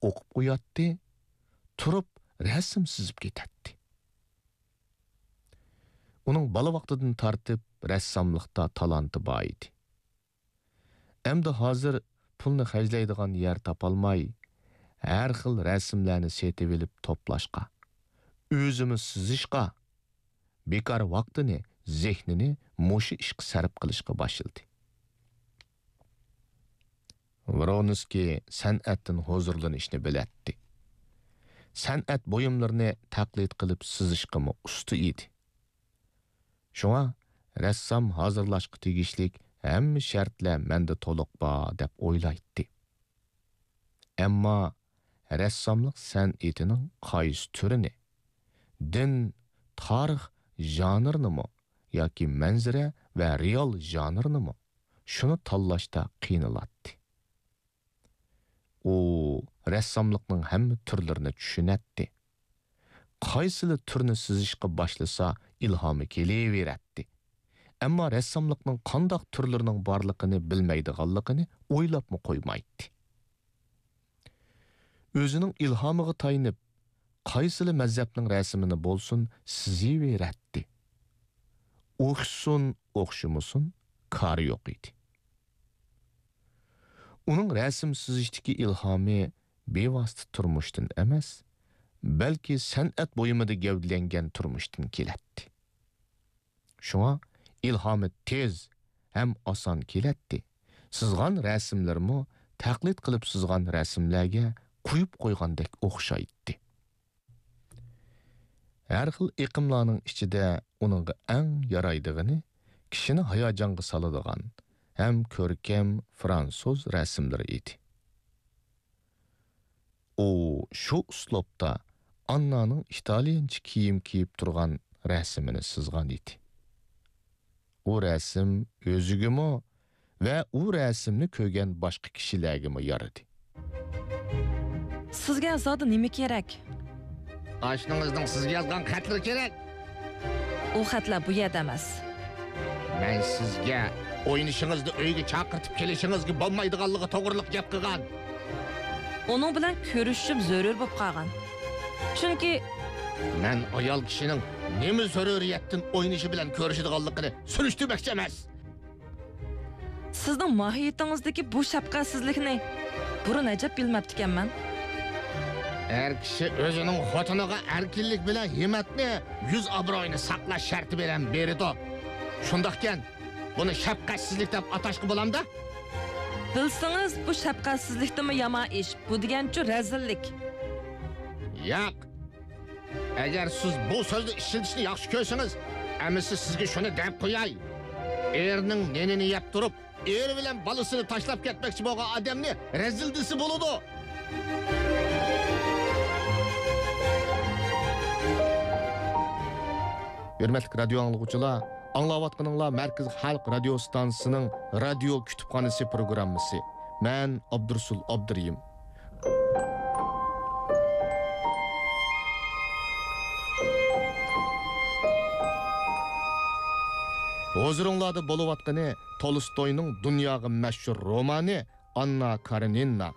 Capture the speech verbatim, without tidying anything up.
ئوقۇپ قوياتتى، تۇرۇپ رەسىم سىزىپ كېتەتتى. ئۇنىڭ بالا ۋاقتىدىن تارتىپ رەسساملىقتا تالانتى بار ئىدى. ئەمدى ھازىر پۇلنى خەجلەيدىغان يەر تاپالماي، ھەر خىل رەسىملەرنى سېتىۋېلىپ توپلاشقا، ئۆزىمۇ سىزىشقا، بىكار ۋاقتىنى، زېھنىنى مۇشۇ ئىشقا سەرپ قىلىشقا باشلىدى. ۋرونسكىي سەنئەتتىن ھۇزۇرلىنىشنى بىلەتتى. سەنئەت بۇيۇملىرىنى تەقلىد قىلىپ سىزىشقىمۇ ئۇستا ئىدى. شۇڭا رەسسام ھازىرلاشقا تېگىشلىك ھەممە شەرتلەر مەندە تولۇق بار دەپ ئويلايتتى. ئەمما رەسساملىق سەنئىتىنىڭ قايسى تۈرىنى، دىن، تارىخ ژانىرىنىمۇ ياكى مەنزىرە ۋە رېئال ژانىرىنىمۇ، شۇنى تاللاشتا قىينىلاتتى. ئۇ رەسساملىقنىڭ ھەممە تۈرلىرىنى چۈشىنەتتى. قايسىلا تۈرنى سىزىشقا باشلىسا، ئىلھامى كېلىۋېرەتتى. ئەمما رەسساملىقنىڭ قانداق تۈرلىرىنىڭ بارلىقىنى بىلمەيدىغانلىقىنى ئويلاپمۇ قويمايتتى. ئۆزىنىڭ ئىلھامىغا تايىنىپ، قايسىلا مەزھەپنىڭ رەسىمىنى بولسۇن سىزىۋېرەتتى. ئوخشىسۇن، ئوخشىمىسۇن، كارى يوق ئىدى. ئۇنىڭ رەسىم سىزىشتىكى ئىلھامى بىۋاسىتە تۇرمۇشتىن ئەمەس، بەلكى سەنئەت بۇيۇمىدا گەۋدىلەنگەن تۇرمۇشتىن كېلەتتى. شۇڭا ئىلھامى تېز ھەم ئاسان كېلەتتى. سىزغان رەسىملىرىمۇ تەقلىد قىلىپ سىزغان رەسىملەرگە قويۇپ قويغاندەك ئوخشايتتى. ھەر خىل ئېقىملارنىڭ ئىچىدە ئۇنىڭغا ئەڭ يارايدىغىنى كىشىنى ھاياجانغا سالىدىغان ھەم كۆركەم فرانسۇز رەسىملىرى ئىدى. ئۇ شۇ ئۇسلۇبتا ئاننانىڭ ئىتالىيانچە كىيىم كىيىپ تۇرغان رەسىمىنى سىزغان ئىدى. ئۇ رەسىم ئۆزىگىمۇ ۋە ئۇ رەسىمنى كۆرگەن باشقا كىشىلەرگىمۇ يارىدى. سىزگە زادى نېمە كېرەك؟ ئاشنىڭىزنىڭ سىزگە يازغان خەتلىرى كېرەك. ئۇ خەتلەر بۇ يەردە ئەمەس. مەن سىزگە ئوينىشىڭىزنى ئۆيگە چاقىرتىپ كېلىشىڭىزگە بولمايدىغانلىقى توغرىلىق گەپ قىلغان. ئۇنىڭ بىلەن كۆرۈشۈشۈم زۆرۈر بولۇپ قالغان. چۈنكى مەن ئايال كىشىنىڭ نېمە زۆرۈرىيەتتىن ئوينىشى بىلەن كۆرۈشىدىغانلىقىنى سۈرۈشتۈرمەكچى ئەمەس. سىزنىڭ ماھىيىتىڭىزدىكى بۇ شەپقەتسىزلىكنى بۇرۇن ئەجەب بىلمەپتىكەنمەن. ئەر كىشى ئۆزىنىڭ خوتۇنىغا ئەركىنلىك بىلەن ھىممەتنى، يۈز ئابرۇيىنى ساقلاش شەرتى بىلەن بېرىدۇ. شۇنداقكەن، بۇنى شەپقەتسىزلىك دەپ ئاتاشقا بولامدا؟ بىلسىڭىز، بۇ شەپقەتسىزلىكتىنمۇ يامان ئىش. بۇ دېگەنچۇ رەزىللىك. ياق. ئەگەر سىز بۇ سۆزنى ئىشلىتىشنى ياخشى كۆرسىڭىز، ئەمىسە سىزگە شۇنى دەپ قوياي. ئېرىنىڭ نېنىنى يەپ تۇرۇپ، ئېرى بىلەن بالىسىنى تاشلاپ كەتمەكچى بولغان ئادەمنى رەزىل دېسە بولىدۇ. ھۆرمەتلىك رادىيو ئاڭلىغۇچىلار، ئاڭلاۋاتقىنىڭلار مەركىزىي خەلق رادىيو ستانسىسىنىڭ رادىيو كۇتۇپخانىسى پروگراممىسى. مەن ئابدۇرۇسۇل ئابدۇرېھىم. ھۇزۇرۇڭلاردا بولۇۋاتقىنى تولستوينىڭ دۇنياغا مەشھۇر رومانى ئاننا كارېنىنا.